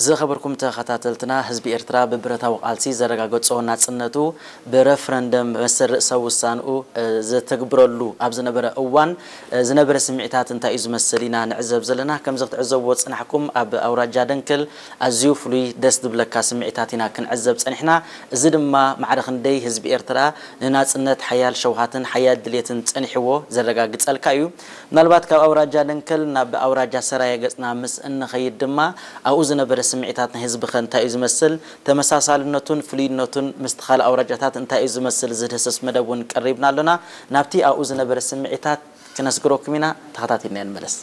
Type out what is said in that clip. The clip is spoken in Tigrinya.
ዝኸበርኩም ተኸታተልትና፣ ህዝቢ ኤርትራ ብብረታዊ ቃልሲ ዘረጋገጾ ናጽነቱ ብረፍረንደም መሰል ርእሰ ውሳንኡ ዘተግብረሉ ኣብ ዝነበረ እዋን ዝነበረ ስምዒታት እንታይ እዩ ዝመስል ኢና ንዕዘብ ዘለና። ከምዚ ክትዕዘብዎ ዝጸናሕኩም ኣብ ኣውራጃ ደንከል ኣዝዩ ፍሉይ ደስ ዝብለካ ስምዒታት ኢና ክንዕዘብ ጸኒሕና። እዚ ድማ ማዕረ ክንደይ ህዝቢ ኤርትራ ንናጽነት ሓያል ሸውሃትን ሓያል ድሌትን ጸኒሕዎ ዘረጋግጸልካ እዩ። ምናልባት ካብ ኣውራጃ ደንከል ናብ ኣውራጃ ሰራየ ገጽና ምስ እንኸይድ ድማ ኣብኡ ዝነበረ ስምዒታት ናይ ህዝቢ ከ እንታይ እዩ ዝመስል፣ ተመሳሳልነቱን ፍሉይነቱን ምስቲ ካልእ ኣውራጃታት እንታይ እዩ ዝመስል ዝድህስስ መደብ እውን ቀሪብና ኣሎና። ናብቲ ኣብኡ ዝነበረ ስምዒታት ክነስግረኩም ኢና፣ ተኸታቲልና ንመለስ።